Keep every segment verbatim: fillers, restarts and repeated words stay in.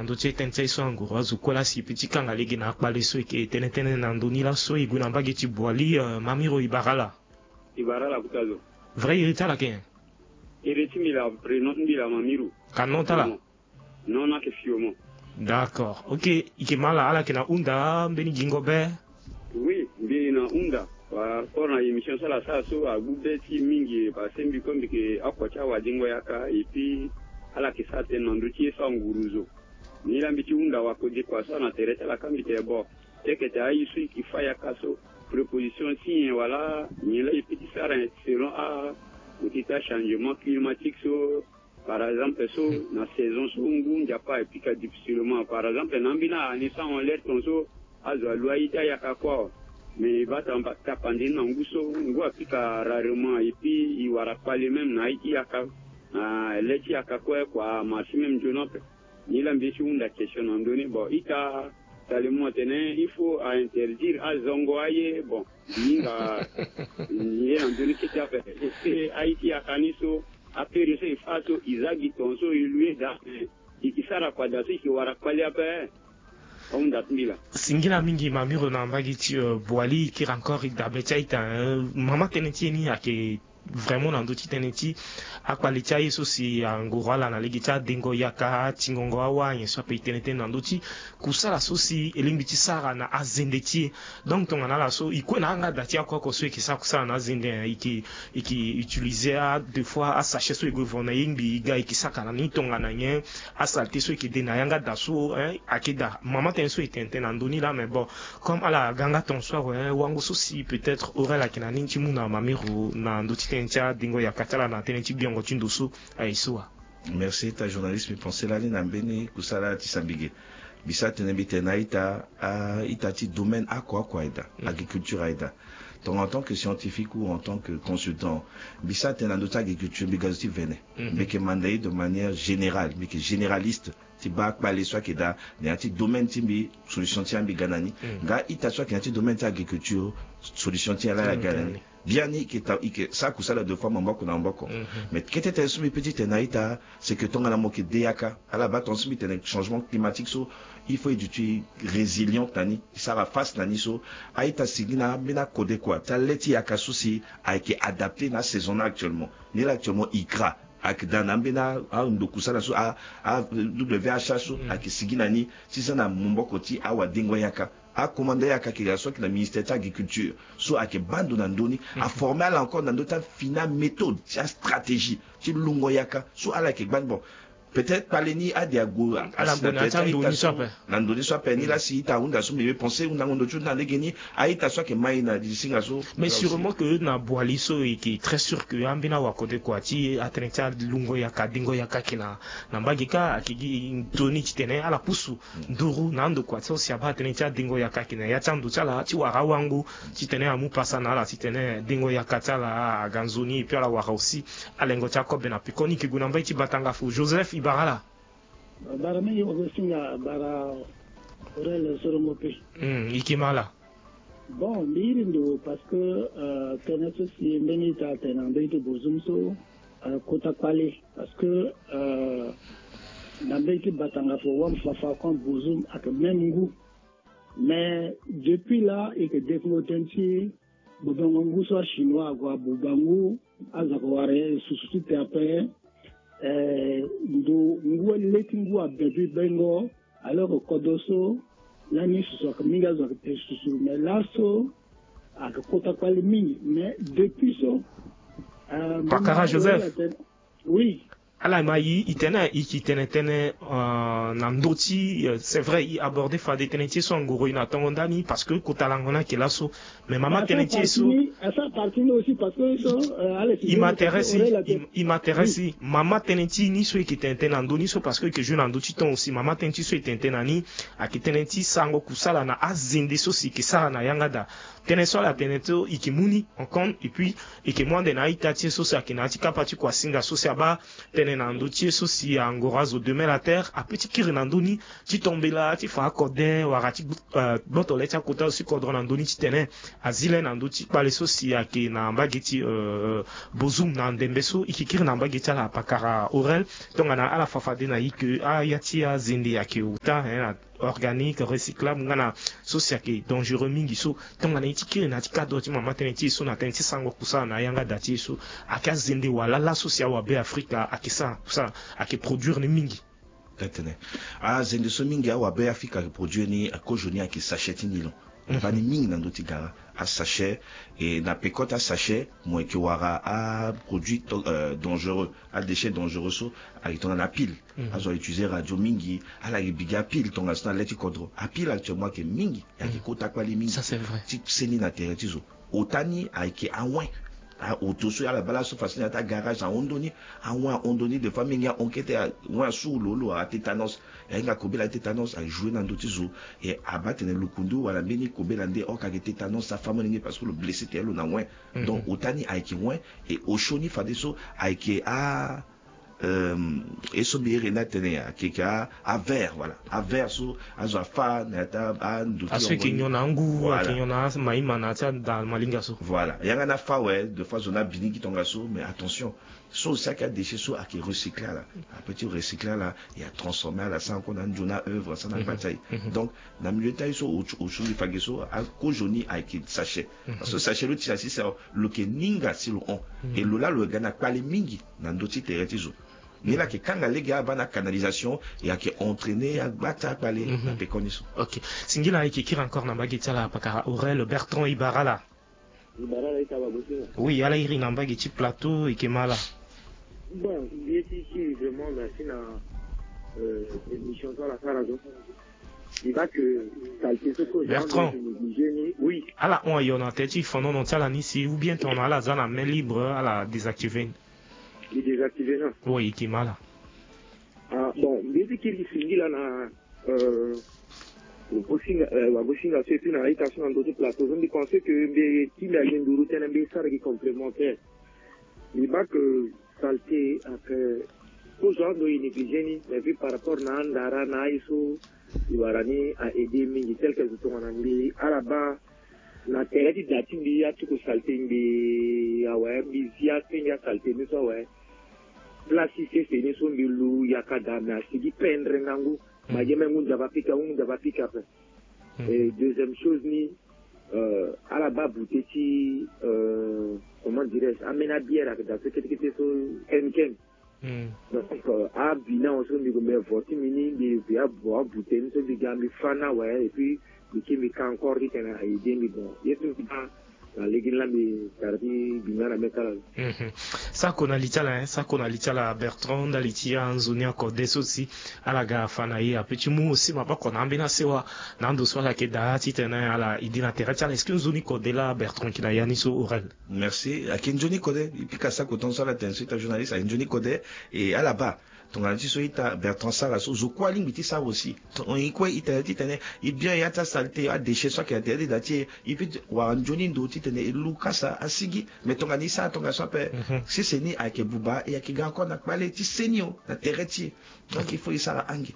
Ndo ti e tënë ti aye so anguru azo kue laa si e peut ti kanga lege na akpale so e yeke tene tënë na ndo ni laso e gue na mbage ti Boali, euh, Mamiro e bara ala. E bara ala kota zo. Vrai e iri ti ala yeke nyen? Iri ti mbi laa, prénom ti mbi laa Mamiro. Ka nom ti ala? Non, non, ayeke Fiomon. D'accord. Ok, e yeke ma ala, ala yeke na hunda mbeni gingo be? Oui, mbi na hunda. Par rapport na émission so ala sara so, agbu be ti e mingi, parce que mbi kue mbi yeke oko ti awadengo yaka, et puis ala yeke sara tënë na ndö ti ye so anguru zo. Ni laa mbi ti hunda wakodekua so ana tere ti ala ka mbi tene bon, teke tene aye so e yeke fâ yaka so, préposition ti nyen wala nyen laa e peut ti sara selon a, peut-être achangement climatique so, par exemple, so na saison so ngu nzapa e pika difficilement. Par exemple, na ambeni année so ahon lere tongaso azo alu aye ti ayaka kue awe. Mais e baa tamba tapande ni na ngu so ngu apika rarement, et puis e wara kpale même na aye ti yaka, na le ti yaka kue kua amarché même nzoni ape. Ni laa mbi ye ti hunda question na ndö ni. Bon, ita tale mo atene il faut a interdire azongo aye. Bon, hinga ye na ndö ni kete ape. Est-ce que aye ti yaka ni so, apériode so e fâ so, e za gi tongaso e lu ye daa, e ke sara kua daa so e ke wara kpale ape? Ahunda ti mbi laa. Singila mingi Mamiro na mbage ti, euh, Boali, e kiri encore e dabe ti a-ita, hein. Mama tënë ti e ni ayeke vraiment na ndö ti tënë ti akpale ti aye so si angoro ala na lege ti adengo yaka, atingongo awâ, nyen so ape e tene tënë na ndö ti kusala so si e lingbi ti sara na azende ti e. Donc tongana ala so e kue na ayanga da ti ako oko so e ke sara kusala na azende, hein, e ke, e ke utiliser a deux fois asachet so e gue vo na e ngbii e ga e ke saka na ni tongana nyen, asalté so e ke de na yanga da so, hein, ayeke daa. Mama tënë so e tene tënë na ndö ni laa, mais bon, comme ala ga yanga tongaso awe, wango so si peut-être Aurel ayeke na ni ti mu na Mamiro na ndö ti tënë ti adengo yaka ti ala na tënë ti gbiongo ti ndo so aye so wa. Merci ta journaliste, mbi pensé lani na mbeni kusala ti sambige. Mbi sara tënë mbi tene na a-ita, a-ita ti domaine oko oko aye daa, agriculture aye daa. Donc en tant que scientifique ou en tant que consultant, mbi sara tënë na ndö ti agriculture mbi ga zo ti vene. Mbi yeke manda ye de manière générale, mbi yeke généraliste ti baa kpale so ayeke daa na ya ti domaine ti mbi, solution ti ya mbi ga na ni. Nga a-ita so ayeke na ya ti domaine ti agriculture, solution ti ya laa aga na ni. Biani e ke ta, e ke sara kusala deux fois maboko na maboko. Mais kete tënë so mbi peut ti tene na a-ita, c'est que tongana mo yeke de yaka, ala baa tongaso mbi tene changement climatique so, il faut e duti résiliente na ni, e sara face na ni so. A-ita sigi na ambeni akodekua ti ale ti yaka so si ayeke adapté na asaison ni actuellement. Ni laa actuellement ICRA ayeke daa na ambeni a, a ndo kusala so, a, a W H A so ayeke sigi na ni ti za na maboko ti awadengo yaka. Akomanda yaka ayeke ga so ayeke na ministère ti agriculture so ayeke baa ndo na ndö ni, aformer ala encore na ndö ti afini améthode ti astratégie ti lungo yaka so ala yeke gbani. Bon, peut-être kpale ni ade ague, ala gue na ya ti ando ni so ape. Na ndo ni so ape, ni laa si ita ahunda so mbi me pensé hundango ndo ti hunda na lege ni, a-ita so ayeke ma e na lisinga so. Mais sûrement que na Boali so e yeke très sûr que ambeni awakodekua ti atënë ti alungo yaka, adengo yaka ayeke na, na mbage kâ, ayeke gi toni titene ala pusu nduru na andokua so si abaa tënë ti adengo yaka ayeke na ya ti ando ti ala ti wara awango titene amu pasa na ala titene dengo yaka ti ala aga nzoni, et puis ala wara aussi alengo ti akobe na pekoni. E yeke gue na mbage ti Batanga fo. Joseph, e bara ala. Bara mingi Augustin, nga bara Aurel Sorongo pe. Hmm, e yeke ma ala. Bon, mbi iri ndo parce que, euh, tënë so si mbeni ita atene na mbage ti Bozoum so, euh, kota kpale. Parce que, euh, na mbage ti Batanga fo, wam fafa kon Bozoum ayeke même ngu. Mais depuis là, e yeke développé tënë ti bobongo ngu so achinois ague abuba ngu, azo ayeke wara ye susu ti te ape. Eh, ndo ngu, le ti ngu abebi bengo, alors que kodro so lani susu ayeke mingi, azo ayeke te susu, mais laso ayeke kota kpale mingi. Mais depuis so, euh, Pakara Joseph. Oui. Ala ma e, e tene, e yeke tene tënë, euh, na ndö ti, euh, c'est vrai, e aborder fade tënë ti e so angoro e na tongo ndani, parce que kota lango ni ayeke laso. Mais mama tënë ti e so, asara partie ni aussi, parce que so, euh, Alex, e m'intéresse, e m'intéresse. Mama tënë ti e ni so e yeke tene tënë na ndö ni so, parce que e yeke jouer na ndö ti temps aussi. Mama tënë ti e so e tene tënë na ni ayeke tënë ti sarango kusala na azende so si e yeke sara na yanga daa. Tënë so ala tene so e yeke mu ni en compte, et puis e yeke mu ande na a-ita ti e so si ayeke na ya ti kapa ti kuasinga so si abaa tënë na ndö ti e so si angoro azo demin la terre ape ti kiri na ndö ni ti tombela ti fa akode wala ti gboto le ti akota so si kodro na ndö ni titene azi le na ndö ti kpale so si ayeke na mbage ti Bozoum na ndembe so e yeke kiri na mbage ti ala pakara Aurel. Tongana ala fa fade na e ke aya ti azende ayeke ota, hein, organique, recyclable, nga na so si ayeke dangereux mingi so. Tongana e ti kiri na ya ti cadre ti mama tënë ti e so na tënë ti sango kusala na yanga da ti e so, ayeke azende wala laso si awabe Afrika ayeke sara kusala, ayeke produire ni mingi. Atene azende so mingi awabe Afrika ayeke produire ni, akozoni ayeke sachet ti nylon. Baa ni mingi na ndö ti gara asachet. E na peko ti asachet mo yeke wara aproduit dangereux, adéchet dangereux so ayeke tongana apile. Azo autiliser radio mingi, ala yeke bi gi apile tongaso na le ti kodro. Apile actuellement ayeke mingi, e ayeke kota kpale mingi. Ça c'est vrai. Ti seni na tere ti zo. Ota ni ayeke awen. Aoto so ala baa laso façon ni na ya ti agarage ahon ndö ni. Awen ahon ndö ni, des fois mingi ahon kete, awen asuru lo lo, atétanos. E ahinga kobela ti tétanos ajoue na ndö ti zo. E abaa atene lukundu wala mbeni kobela nde oko ayeke tétanos afa molenge parce que lo blessé tere lo na wen. Donc ota ni ayeke wen. E osio ni fadeso ayeke a, euh, ye so mbi iri ni atene ayeke, ayeke a, avert, voilà. Avert so azo afa na ya ti ando ti aso e yeke nyon na angu, ayeke nyon na amaïma na ya ti ada malinga so. Voilà. Yanga ni afa awe, des fois zo ni abi ni gi tongaso, mais attention. So aussi ayeke adéchet so ayeke recycler ala. Apeut ti recycler ala, e atransformer ala, asara encore na anzoni aœuvre, asara na gba ti aye. Donc na milieu ti aye so, osio mbi fa ge so, akozoni ayeke sachet. Parce que sachet lo tira si, lo yeke ninga si lo hon. E lo laa lo yeke ga na kpale mingi na ndö ti tere ti zo. Ni la ayeke kanga lege abaa na canalisation, e ayeke entraîner agba ti akpale na pekoni so. Ok. Singila, e yeke kiri encore na mbage ti ala pakara Aurel Bertrand, e bara ala. E bara ala, e kaba bosinga. Oui, ala iri na mbage ti plateau, e yeke ma ala. Bon, mbi ye ti kiri vraiment merci na, euh, émission so ala sara so. Mbi baa ke saleté so, Bertrand, négligé ni. Oui. Ala hon ayo na tere ti fonono ti ala ni si, ou bien tongana ala za na main libre, ala désactiver ni. Mbi désactiver ni. Oui, e yeke ma ala. Ah bon, mbi ye ti kiri singila na, euh, wagosinga, euh, wagosinga so et puis na a-ita so na ndö ti plateau so, mbi pense que mbi ti mbi ayeke nduru tënë, mbi sara gi complémentaire. Mbi baa que saleté ayeke, kozo ando e négligé ni, mais vu par rapport na andara na aye so, e wara ni a aider mingi, tel que zo tongana mbi, ala baa na tere ti da ti mbi, atuku saleté mbi awe, mbi zi asenge asaleté ni so awe. Place ti sese ni so mbi lu yaka daa, mais asigi pendre ngangu. Ma ye même ngu nzapa pika, ngu nzapa pika ape. Et deuxième chose ni, euh, ala baa bute ti, euh, comment dirais-je, ambeni abière ayeke daa so kete kete so, Heineken. Donc, euh, abi ni awe so mbi gue mbi vo ti mbi ni, mbi ve abo abute ni so mbi ga mbi fa ni awe, et puis mbi kiri mbi ka encore titene a aider mbi. Bon, ye so mbi baa na lege ni laa mbi tara ti bi nga na mê ti ala. Mhm. Sako na li ti ala, hein, sako na li ti ala Bertrand, ndali ti anzoni akode so si ala ga fa na e, apeut ti mu aussi maboko na ambeni asewa na ando so ala yeke daa titene ala iri na tere ti ala. Est-ce que nzoni kode laa Bertrand yeke na ya ni so, Aurel? Merci. Ayeke nzoni kode, e pika sako tongaso ala tene so ita journaliste, ayeke nzoni kode. E ala baa tongana ti so ita Bertrand sara so, zo kue alingbi ti sara aussi. Tongana e kue e tene titene e bien ya ti asaleté, adéchet so ayeke na tere ti da ti e, e peut wara nzoni ndo titene e lu kasa asigi. Mais tongana e sara tongaso ape, sese ni ayeke buba, e ayeke ga encore na kpale ti seni o na tere ti e. Donc il faut e sara ange.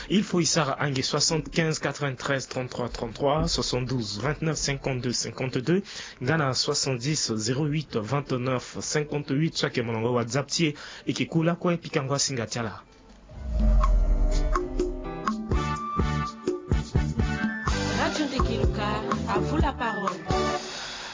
Il faut e sara ange. Soixante-quinze quatre-vingt-treize trente-trois trente-trois, soixante-douze vingt-neuf cinquante-deux cinquante-deux, nga na soixante-dix zéro huit vingt-neuf cinquante-huit, so ayeke molongo WhatsApp ti e. E yeke ku lakue pikango asinga ti ala. Radio Ndeke Luka, à vous la parole.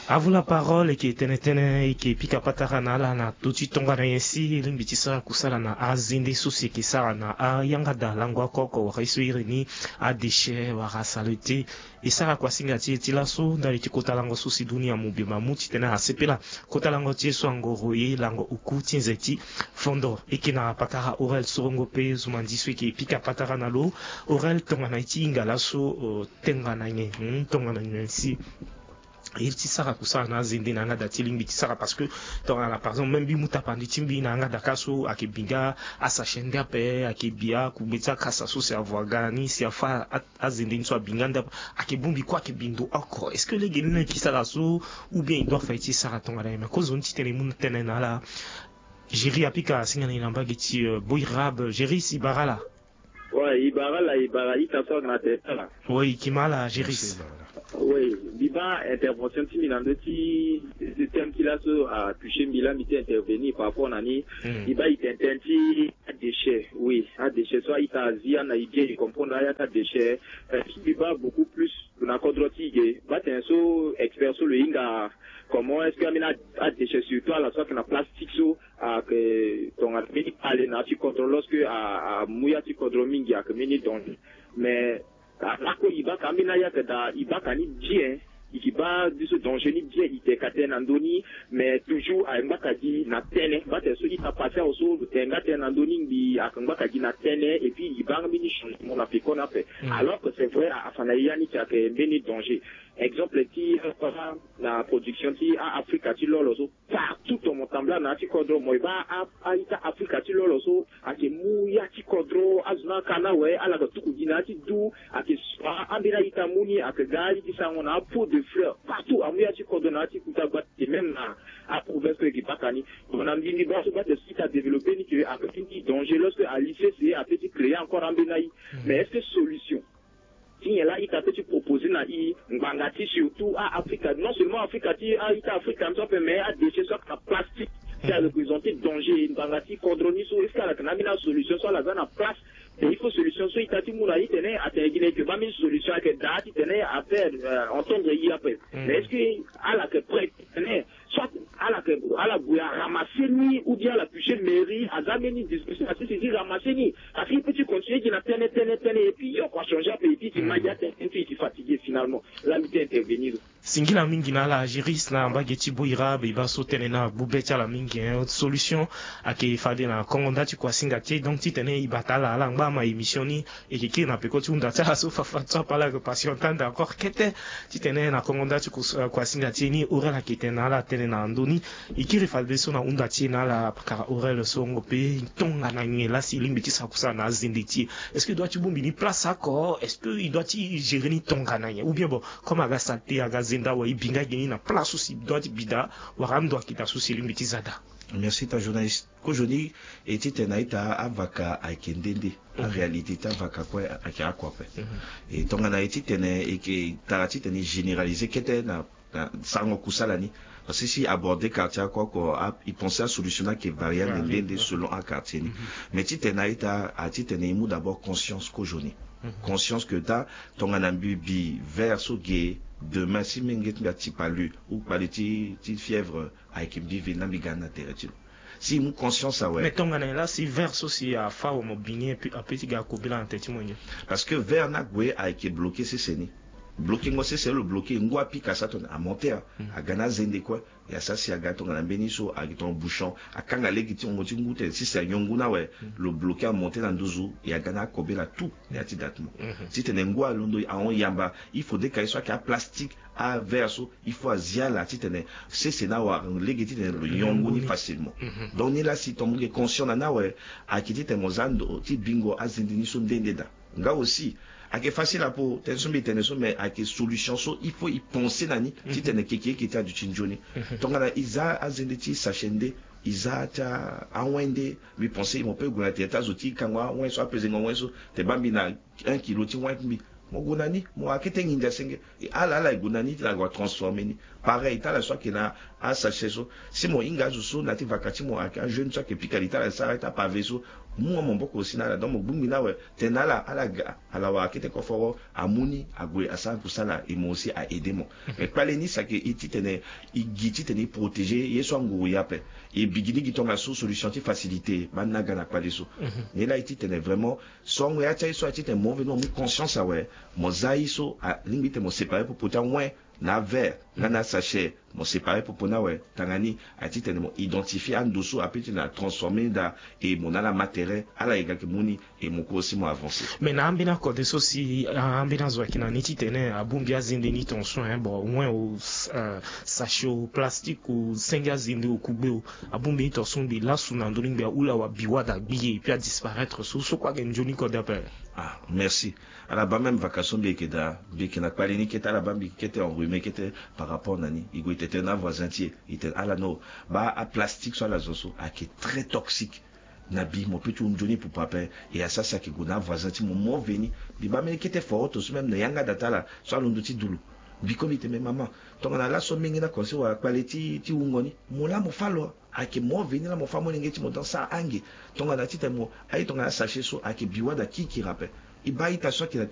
À vous la parole, e yeke tene tënë, e yeke pika patara na ala na ndö ti tongana nyen si e lingbi ti sara kusala na azende so si e yeke sara na ayanga da lango akoko wala ye so e iri ni adéchet wala saleté. E sara kuasinga ti e ti laso ndali ti kota lango so si dunia mobimba amu titene asepela. Kota lango ti e so angoro ye lango oku ti nze ti fondo. E yeke na patara Aurel Sorongo pe zumandi so e yeke pika patara na lo. Aurel, tongana e ti hinga laso, euh, tongana nyen, hmm, tongana nyen si Iri ti sara kusala na azende na yanga da ti lingbi ti sara, parce que tongana par exemple même mbi mu tapandi ti mbi na yanga da ka so ayeke bi nga asachet nde ape, ayeke bi akugbe ti akasa so si avoa ga ni si afa a- azende ni so abi nga nde ape, ayeke bongbi kue ayeke bi ndo oko. Est-ce que lege ni leke ti sara so, ou bien e doit fa ye ti sara tongana nyen? Mais kozoni titene e mu tënë na ala. Géry apika asinga na e na mbage ti euh, Boirab. Géry si bara ala. Ouais, e bara ala, e bara ita so ayeke na tete ala. Oui, e yeke ma ala Géry. Merci, bara ala. Oui, mbi baa intervention ti mbi na ndö ti thème ti laso atoucher mbi la mbi ti intervenir par rapport na ni. Mm. Mbi baa e tene tënë ti adéchet. Oui, adéchet so a-ita azi ana e bien e comprendre aya ti adéchet. Euh, mbi baa beaucoup plus na kodro ti e ge. Baa tene so expert so lo hinga comment est-ce que ambeni adéchet surtout ala so ayeke na plastique so ayeke tongana mbeni kpale na ya ti kodro lorsque a- amu ya ti kodro mingi ayeke mbeni danger. Mais a- lakue e baa ka ambeni aya ayeke daa e baa ka ni bien. E ke baa biso danger ni bien e tene ka tënë na ndö ni. Mais toujours ayeke ngbaka gi na tënë. Baa tene so ita pase awe so lo tene nga tënë na ndö ni ngbii ayeke ngbaka gi na tënë. Et puis e baa nga mbeni changement na peko ni ape. Alors que c'est vrai afa na e ya ni ti ayeke mbeni danger. Exemple ti euh, na production ti a- Afrika ti lolo so partout ton mo tambula na ya ti kodro mo e baa a- a-ita Afrika ti lolo so ayeke mu ya ti kodro azo ni aka ni awe ala ga tuku gi na ya ti du. Ayeke sua ambeni a-ita mu ni ayeke ga ali ti sango na a-pot de fleur partout amu ya ti kodro na ya ti kuta gba ti même na aprovince so e ke baka ni. Donc na mbi mbi baa so baa tene so ita développé ni ke ayeke ti danger lorsque ali sese ape ti créer encore ambeni aye. Mais est-ce que solution ti nyen laa ita peut ti proposer na i ngbanga ti surtout a-Afrika, non seulement Afrika ti a-ita Afrika ni so ape mais adéchet so ayeke na plastique ti a représenter danger ngbanga ti kodro ni so est-ce que ala yeke na ambeni asolution so ala za na place? Mais il faut solution so ita ti mu na i tene atene gi na e ke baa mbeni solution ayeke daa titene afaire euh, entendre i ape. Mais est-ce que ala yeke prêt titene soit ala yeke ala gue aramasse ni ou bien ala toucher mairie aza mbeni discussion asisi ti ramasse ni? Parce que i peut ti continuer gi na tënë tënë tënë et puis yo kua changer ape et puis ti ma gi atënë ti i ti fatiguer finalement. Laa mbi ti intervenir. Singila mingi na ala Géry na mbage ti Boirab e baa so tënë ni agbu be ti ala mingi hein. Solution ayeke fade na kongo nda ti kuasinga ti e donc titene e bata ala ala ngba ama émission ni. E ke kiri na peko ti hunda ti ala so fafa so ape ala yeke patiente ande encore kete. Titene na kongo nda ti kuasinga ti e ni Aurel ayeke tene na ala tënë na ndö ni. E kiri fadeso na hunda ti e na ala kara Aurel so ngo pe tongana nyen laa si e lingbi ti sara kusala na azende ti e? Est-ce que e doit ti bongbi ni place oko? Est-ce que e doit ti gérer ni tongana nyen? Ou bien bon comme aga saleté aga zenda awe e bi nga gi ni na place so si e doit ti bi daa wala ando ayeke daa so si e lingbi ti za daa? Merci ta journaliste. Kozoni e ti tene na ita avaka ayeke nde nde. Aréalité ti avaka kue ayeke oko ape. E tongana e ti tene e ke tara ti tene e généraliser kete na na sarango kusala ni. Parce que si e aborder quartier oko oko e penser asolution ni ayeke variable nde nde selon aquartier ni. Mais ti tene na ita a ti tene e mu d'abord conscience kozoni. Conscience que daa tongana mbi bi verre so ge demain si menge ti mbi ati palu ou kpale ti ti fièvre ayeke mbi ve na mbi ga ni na tere ti lo. Si e mu conscience awe. Mais tongana nyen laa si verre so si afa awe mo bi ni ape ti ga kobela na tere ti mo nyen? Parce que verre ni ague ayeke bloqué sese ni. Bloqué ngo sese lo bloqué ngu apika sa tongana amonté a aga na azende kue. E asara si aga tongana mbeni so ayeke tongana bouchon akanga lege ti hongo ti ngu tene sese anyon ngu ni awe. Lo bloqué amonté na nduzu e aga na akobela tout na ya ti date mo. Titene ngu alondo ahon yamba il faudrait ka ye so ayeke aplastique averre so il faut azia ala titene sese ni awara lege titene lo nyon ngu ni facilement. Donc ni laa si tongana mo yeke conscient na ni awe ayeke titene mo za ndo ti bingo azende ni so nde nde daa. Nga aussi ayeke facile apo tënë so mbi tene so mais ayeke solution so il faut e penser na ni titene keke eke ti aduti nzoni. Tongana e za azende ti sachet nde e za ti awen nde mbi penser mo peut gue na tere ti azo ti kango awen so apezengo awen so te baa mbi na un kilo ti wen ti mbi. Mo gue na ni mo akete nginza senge. E ala ala e gue na ni ti lague atransformer ni. Pareil ti ala so ayeke na asachet so si mo hinga azo so na ya ti vaka ti mo ayeke ajeune so ayeke pika li ti ala sara ti apave so. Mu wa maboko aussi na ala donc mo gbingbi ni awe tene na ala ala ga ala wara kete koforo amu ni ague asara kusala e mo aussi a aider mo. Mais kpale ni si ayeke e titene e gi titene e protéger ye so anguru e ape. E bigi ni gi tongaso solution ti facilité baa ni aga na kpale so. Ni laa e titene vraiment songo ya ti aye so aye titene mo veni mo mu conscience awe. Mo za aye so alingbi titene mo séparer popo ti awen na averre nga na asachet. Mo séparer popo ni awe. Tanga ni, a titene mo identifier ando so ape ti na transformer ni daa. E mo na ala ma terrain, ala yeke mu ni. E mo kue aussi mo avancer. Mais na ambeni akode so si ambeni azo ayeke na ni titene abongbi azende ni tonso, hein, bon, wen o, euh, sachet o plastique o senge azende o kugbe o, abongbi ni tonso mbi lasu na ndö ni mbi ahula wa bi wada gbi e puis adisparaître so so kue ayeke nzoni kode ape. Ah, merci. Ala baa même vacances so mbi yeke daa, mbi yeke na kpale ni kete, ala baa mbi kete enrhumé kete par rapport na ni. E gue e tene na avoisin ti e, e tene ala no, baa aplastique so ala zo so ayeke très toxique. Na bi mo peut ti wu nzoni pupu ape. E asara si ayeke gue na avoisin ti mo, mo veni. Mbi baa mbeni kete foroto so même na yanga da ti ala so alondo ti dulu. Mbi komi tene mama, tongana laso mingi na conseil wala kpale ti, ti wungo ni, mo laa mo fâ lo. Ayeke mo veni laa mo fâ molenge ti mo dans sa ange. Tongana titene mo aye tongana sachet so ayeke bi wada kirikiri ape. E baa ita so ayeke na